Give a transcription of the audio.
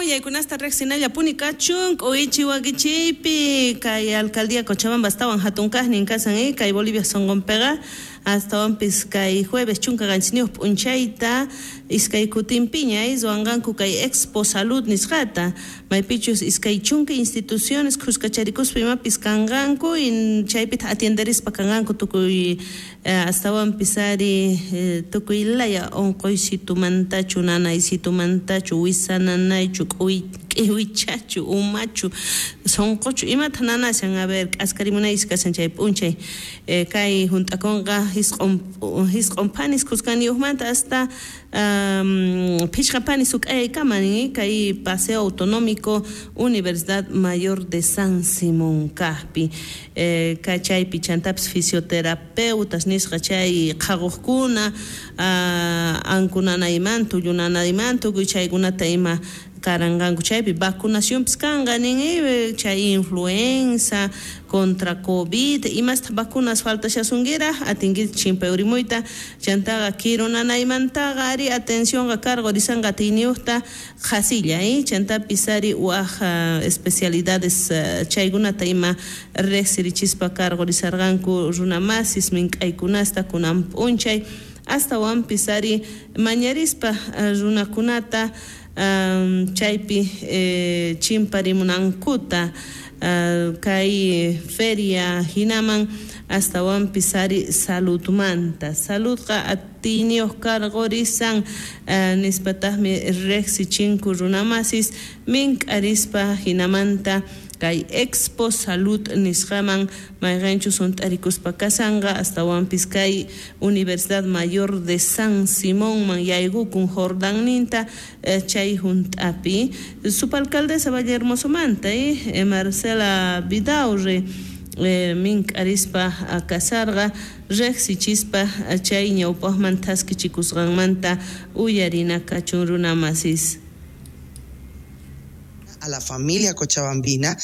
Willaykunasta riqsinallapuni kachun k'uichi wakichiypi kay alcaldía Cochabamba astawan hatun kaqnin kasan kay Bolivia sunqunpiqa, astawanpis kay jueves 17 p'unchayta iskay kutinpiña ruwanqanku kay Expo Salud nisqata, maypichus 20 instituciones khuskacharikuspa imapis kanqanku, chaypitaq atienderispa kanqanku tukuy astawanpis ari tukuy laya unquysitumantachu, nanaysitumantachu, wisa nanaychu, k'iwichachu, umachu, sunquchu, imata nanashan, a ver, k'askarimunaychis kashan chay p'unchay. Kay hunt'akunqa 9 phanis khuskaniyuqmanta hasta 5 phanis suk'ayaykama kay Paseo Autonómico Universidad Mayor de San Simón kaqpi. Kay chaypi chantapis fisioterapeutas nisqa chay qhaquqkuna, ankunanaymanta, tullunanaymanta, tukuy chaykunata ima karanqanku chaypi. Vacunacionpis kanqa nin, chay influenza contra COVID, imasta vacunas faltashasunkirak atinki chimpay urimuyta. Chantaqa kirunanaymantaqa ari atencionqa cargo risanqa atiyniyuqta qhasilla, chantapis ari waj especialidades chaykunata ima riqsirichispa cargo risarqanku runamasis mink'aykunasta kunan p'unchay, astawanpis ari mañarispa runakunata chaypi chimparimunankuta kay feria hinaman, astawanpis ari saludmanta. Saludqa atiyniyuq cargo risan nispataqmi riqsichinku runamasis mink'arispa hinamanta kay Expo Salud nisqaman, mayqinchus hunt'arikuspa kasanqa astawanpis kay Universidad Mayor de San Simonman yaykukun Jordanninta chay hunt'api. Subalcaldesa Vallehermosomanta Marcela Vidaurre mink'arispa kasarqa riqsichispa chay ñawpaqman thaskichikusqanmanta uyarina kachun runamasis. A la familia cochabambina.